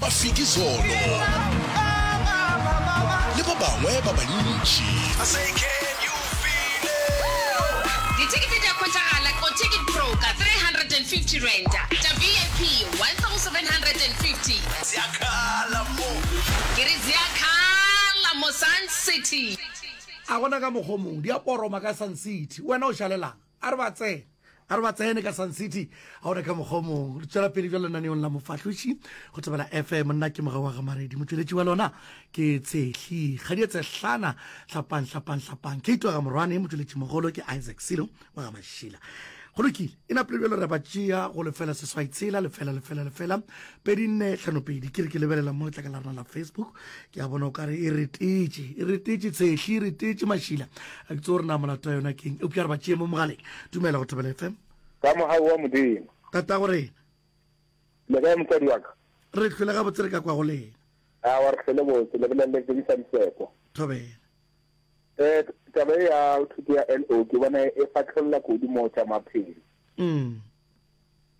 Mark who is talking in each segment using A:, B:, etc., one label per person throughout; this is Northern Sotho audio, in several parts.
A: Mafikizolo le ba bangwe ba bantši.
B: Dithekete di a hwetšagala go Ticket Pro ka R350, tša VIP R1750. Ke re ziakhala mo Sun City.
C: A gona ka mokgwa o mongwe, di a poroma ka Sun City. Wena o šalelang? A re ba tsene. A re ba tsene ka Sun City. A gona ka mokgwa o mongwe. Re tšwela pele bjalo lenaneong la Mofahloši go Thobela FM. Nna ke Mogau wa ga Maredi. Motšweletši wa lona ke Tshehli Kgadia Tshehlana. Hlapang, hlapang, hlapang. Kate wa ga Morwane. Motšweletšimogolo ke Isaac Silo wa ga Mašila. Go lokile. E napile bjalo re ba tšea go lefela seswai tshela lefela lefela lefela pedi nne hlano pedi. Ke re ke lebelela mo letlaka la rena la Facebook. Ke a bona o kare e retetše, e retetše Tshehli, e retetše Mašila. A ke tsebe gore na molato wa yona keng, eupša re ba tšee mo mogaleng. Dumela go Thobela FM.
D: Ka mogau wa Modimo.
C: Tatago rena.
D: Le kae motswadi wa ka?
C: Re hlwele gabotse re ka kwa go lena.
D: Aowa re hlwele botse, le bolelele Tsebiša Diseko.
C: Thobela.
D: Eh, taba e ya thuto ya LO ke bona e fahlolla kudu mo tša maphelo.
C: Mm.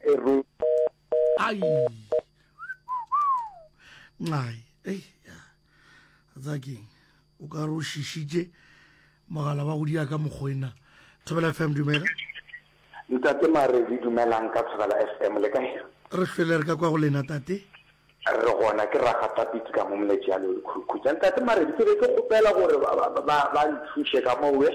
D: E ru.
C: Ai. Nxai, ei, ya. Tsa keng? O ka re o šišitše mogala wa go dia ka mokgwena. Thobela FM dumela.
E: Ntate Maredi dumelang ka Thobela FM le kae?
C: Re hlwele re ka kwa go lena tate.
E: Re gona ke ragata pitsi ka mo Moletšealo le Khurkhutša. Ntate Maredi ke be ke kgopela gore ba ba nthuše ka mo we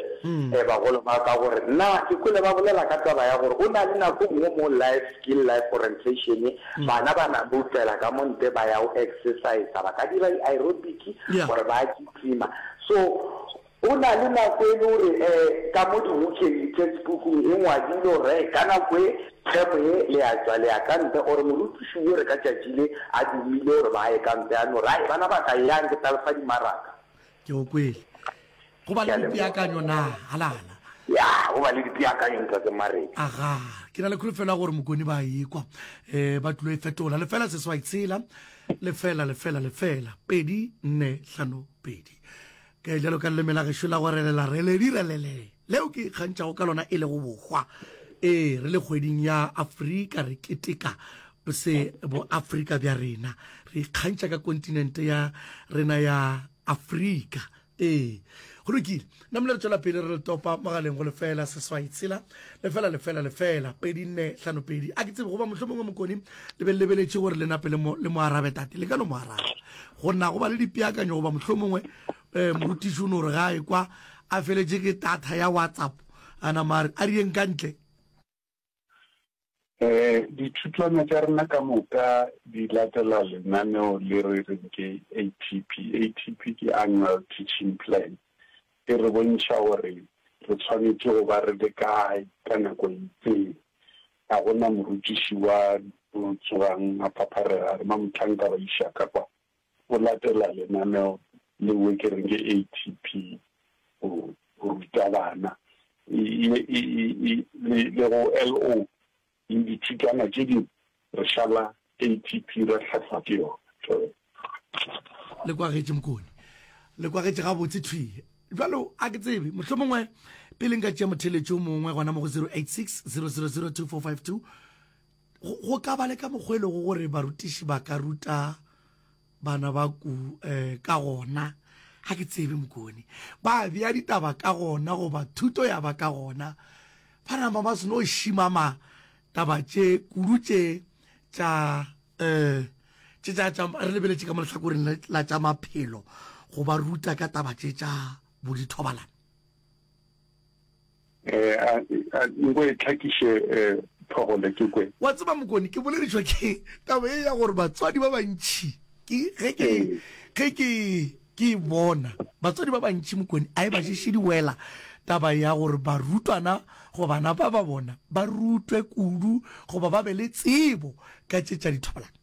E: bagolo ba ka gore nna ke kwele ba bolela ka taba ya gore o na le nako nngwe mo life skill life orientation bana ba na boutela ka mo ntle ba ya go exercise ba ka dira di aerobic gore ba kitima so Go na le nako e le gore ka mo dibukeng, di-textbook-ung, e ngwadilwe gore hei, ka nako e, term ye, le a tšwa le ya ka ntle, or morutiši o re ka tšatši le a dumile gore ba ye ka ntle, a no re, Ai, bana ba ka, eyang ke tla le fa dimaraka.
C: Ke go kwele. Go ba
E: Ke a
C: le
E: leboga.
C: dipeakanyo na? Halala.
E: Ya, go ba le dipeakanyo, Ntate Maredi.
C: Aga, ke na le kholofelo ya gore Mokone ba ekwa. Um ba tlilo e fetola. Lefela seswai tshela, lefela, lefela, lefela, pedi, nne, hlano, pedi. Ke bjalo ka leleme la gešo la go relela reledi relele leo ke ikgantšhago ka lona e lego bohwa. Ee, re le kgweding ya Afrika re keteka se boAfrika bja rena. Re ikgantšha ka kontinente ya rena ya Afrika. Ee, go lokile. Namile re tšwela pele re le topa mogaleng go lefela seswai tshela lefela lefela lefela pedi nne hlano pedi. A ke tsebe goba mohlomongwe Mokoni le be le lebeletše gore le nape le mo le mo arabe tate. Le ka no mo araba. Go na go ba le dipeakanyo goba mohlomongwe um morutiši o no re ga a ekwa a feletše ke data ya WhatsApp a nama a re a re yeng ka ntle.
F: Um Dithutwana tša rena ka moka di latela lenaneo le re reng ke ATP. ATP ke Annual Teaching Plan. E re bontšha gore re tshwanetše go ba re le kae ka nako e itseng. Ga go na morutiši wa yo tsogang a phapharega a re, Mamohlanka ba iša ka kwa. O latela lenaneo leo ke reng ke ATP go ruta bana. Le le go LO le dithutwana tše dingwe re šala ATP ra hlahlwa ke yona. Thobela.
C: Le kwagetše Mokone. Le kwagetše gabotse thwi. Bjalo a ke tsebe, mohlomongwe pele nka tšea motheeletši o mongwe gona mo go 086 000 2452, go, go ka ba le ka mokgwa e lego gore barutiši ba ka ruta bana ba ku eh, ka gona. Ga ke tsebe Mokone. Ba bea ditaba ka gona goba thuto ya ba ka gona. Ba nama ba seno šimama taba tše kudu tše tša eh tše tša tša re lebeletše ka mo lehlakoreng la tša maphelo go ba ruta ka taba tše tša bodithobalano.
F: Eh, a, a, nko e tlhakiše eh, Phogole ke kwe.
C: Wa tseba Mokone, ke boledišwa ke taba ye ya gore batswadi ba bantši ke ge ke ge ke ke e bona batswadi ba bantši Mokone a e ba šeše di wela taba ya gore barutwana goba bana ba ba bona ba rutwe kudu goba ba be le tsebo ka tše tša dithobalano.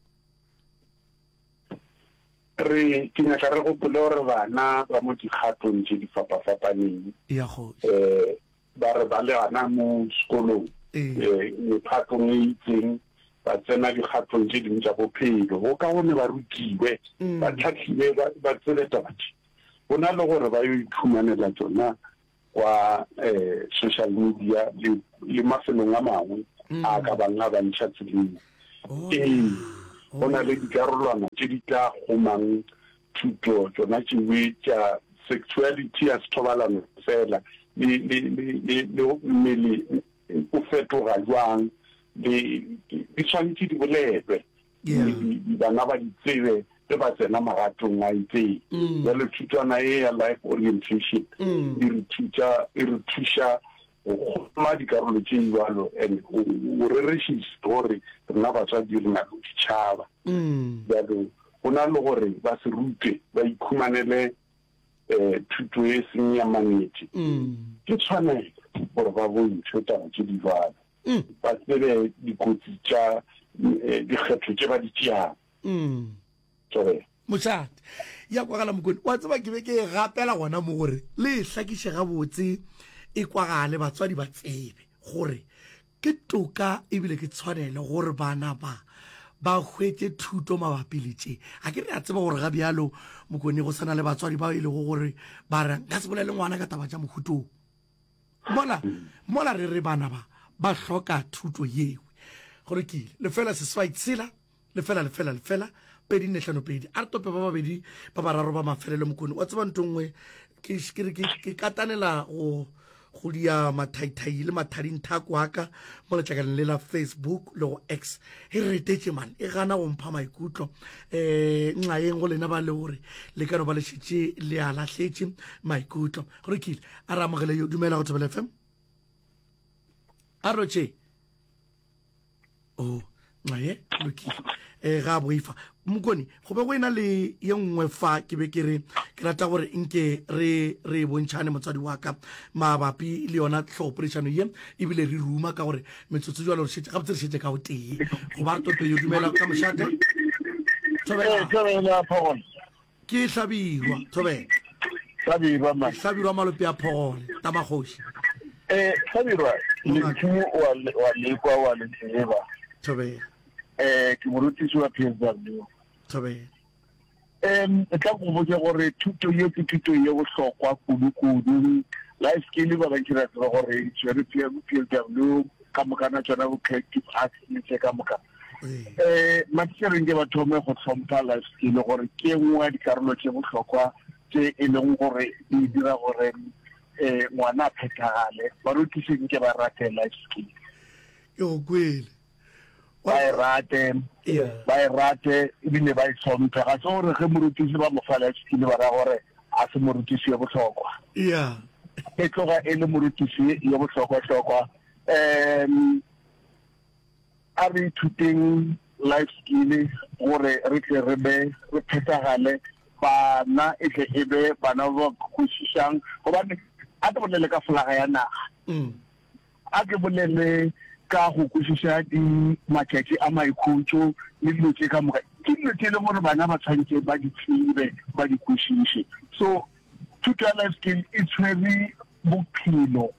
F: Re, ke nyaka re gopole gore bana ba mo dikgatong tše di fapafapaneng.
C: Ya kgoši.
F: Eh, ba re ba le gana mo sekolong, eh, mephatong e itseng, ba tsena dikgatong tše dingwe tša bophelo. Go kaone ba rutiwe, ba tlhahliwe, ba, ba tsebe taba tše. Go na le gore ba yo iphumanela tšona kwa eh, social media le, le mafelong a mangwe a ka bang a ba ntšha tseleng.
C: Oh,
F: Ee. Go na le dikarolwana tše di tla kgomang thuto tšona tšewe tša sexuality ya sethobalano fela le, le, le, le, le mmele o fetoga jwang, le, di swanetše di bolelwe, bana ba di tsebe ge ba tsena magatong a itseng. Bjale thutwana ye ya Life Orientation e re thuša, e re thuša go kgoma dikarolo tše bjalo and o rerešitše gore rena batswadi re na le go di tšhaba. Bjalo go na le gore ba se rutwe ba ikhumanele thuto e seng ya mannete, ke tshwanelo gore ba bontšhwe taba tše di bjalo, ba tsebe dikotsi tša dikgetho tše ba di tšeago. Thobela.
C: Mošate. Ya kwagala Mokone. Wa tseba ke be ke e gapela gona mo gore le e hlakiše gabotse e kwagale batswadi ba tsebe gore ke toka ebile ke tshwanelo gore bana ba ba hwetše thuto mabapi le tše. A ke re a tseba gore ga bjalo Mokone go sana le batswadi bao e lego gore ba re nka se bolele ngwana ka taba tša mohutong. Mola mola re re bana ba ba hloka thuto yewe. Go lokile. Lefela seswai tshela lefela lefela lefela 2 4 5 2. A re tope ba babedi ba bararo ba mafelelo Mokone. Wa tseba ntho nngwe ke ke re ke katanela go go dia mathaithai le mathadinthako a ka mo letlakaleng le la Facebook le go X. E retetše man, e gana go mpha maikutlo. Eh nxaeng go lena ba le gore le ka no ba le šetše le a lahletše maikutlo. Go lokile, a re amogele yo. Dumela go Thobela FM. A rotše. Oh, nxaye, lokile. Eh ga boifa. Mokone, go be go ena le ye nngwe fa ke be ke re ke rata gore nke re re bontšhane motswadi wa ka mabapi le yona tlhogopoledišano ye ebile re ruma ka gore metsotso jalo re šetše gabotse re šetše ka o tee go ba re tope yo dumela ka mošate. Thobela.
D: Thobela Phogole.
C: Ke Hlabirwa, Thobela.
D: Hlabirwa ma.
C: Hlabirwa Malope a Phogole, Tamakgoši.
D: Eh, Hlabirwa, lentšu wa wa lekwa wa le tseba.
C: Thobela.
D: Eh, ke morutiši wa PSW.
C: Thobela.
D: Em, tla go botša gore thuto ye ke thuto ye bohlokwa kudu-kudu. Life skill ba bantši ra tseba gore e tshwere PSW ka mokana tšona bo creative arts le tše ka moka. Um matitšhere nke ba thome go hlompha life skill gore ke nngwe ya dikarolo tše bohlokwa tše e leng gore di dira gore um ngwana a phethagale. Barutiši nke ba rate life skill.
C: Ke go kwele.
D: Ba e rate, ba e rate ebile ba e hlomphe. Ga se gore ge morutiši ba mo fa life skill ba ra gore a se morutiši yo bohlokwa. E tloga e le morutiši yo bohlokwa-hlokwa. Um A re ithuteng life skill gore re tle re be re phethagale, bana e tle e be bana ba ba kwešišang. Gobane a ke bolele ka folaga ya naga, a ke bolele ka go kwešiša di matšatši a maikhutšo le dilo tše ka moka. Ke dilo tše e leng gore bana ba tshwanetše ba di tsebe, ba di kwešiše. So thuto ya life skill e tshwere bophelo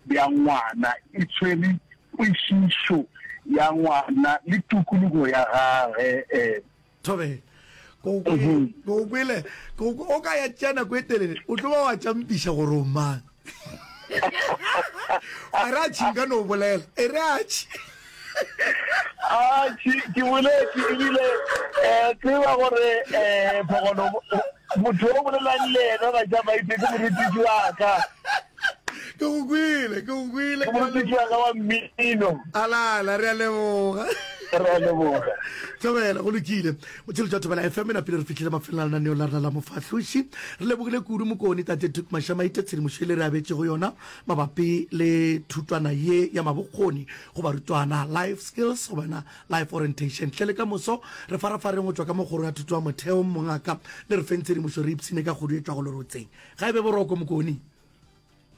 D: bja ngwana, e tshwere kwešišo ya ngwana le tokologo ya gage. E.
C: Thobela. Ko o ko kwele, ko o ka ya tšea nako e telele, o tlo ba wa tšampiša gore o mang. A re atšhi nka no bolela, e re atšhi.
D: Atšhi, ke boletše ebile um tseba gore um Phogolo motho o bolelang le yena ga tša maite ke morutiši wa ka.
C: Ke go kwele, ke go kwele.
D: Ke morutiši wa ka wa mmino.
C: Alala, re a leboga.
D: Re a leboga.
C: Thobela, go lokile. Motšheletši wa Thobela FM e napile re fihlile mafelong a lenaneo la rena la Mofahloši. Re lebogile kudu Mokone Tate Tuku Mashamaite tshedimošo e le re abetšego yona mabapi le thutwana ye ya mabokgoni go barutwana, Life Skills goba yona Life Orientation. Hle le ka moso re farafareng go tšwa ka mo kgorong ya thuto ya motheo mongaka le re feng tshedimošo re ipshine ka kgodu e tšwago lerotseng. Ga e be boroko Mokone.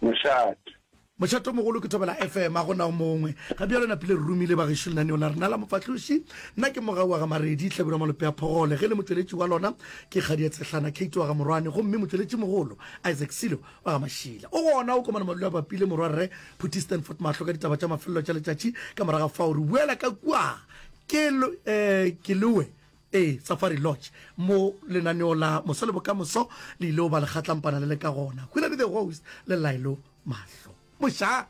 F: Mošate.
C: Mošate o mogolo ke Thobela FM, a go na o mongwe. Ga bjalo napile re romile bagešo lenaneo la rena la Mofahloši. Nna ke Mogau wa ga Maredi, Hlabirwa Malope a Phogole. Ge le motšweletši wa lona ke Kgadia Tshehlana, Kate wa ga Morwane, gomme motšweletši mogolo Isaac Silo wa ga Mašila. O gona o komana madulo a bapile morwarre Phuthi Stanford Mahlo ka ditaba tša mafelelo tša letšatši. Ka moraga fao re boela ka kua ke, eh, Keloe Ee, Safari Lodge, mo lenaneo la Moso le Bokamoso le ile go ba lekgatlampana le le ka gona. Hwilane the Host le Laelo Mahlo. Mošate!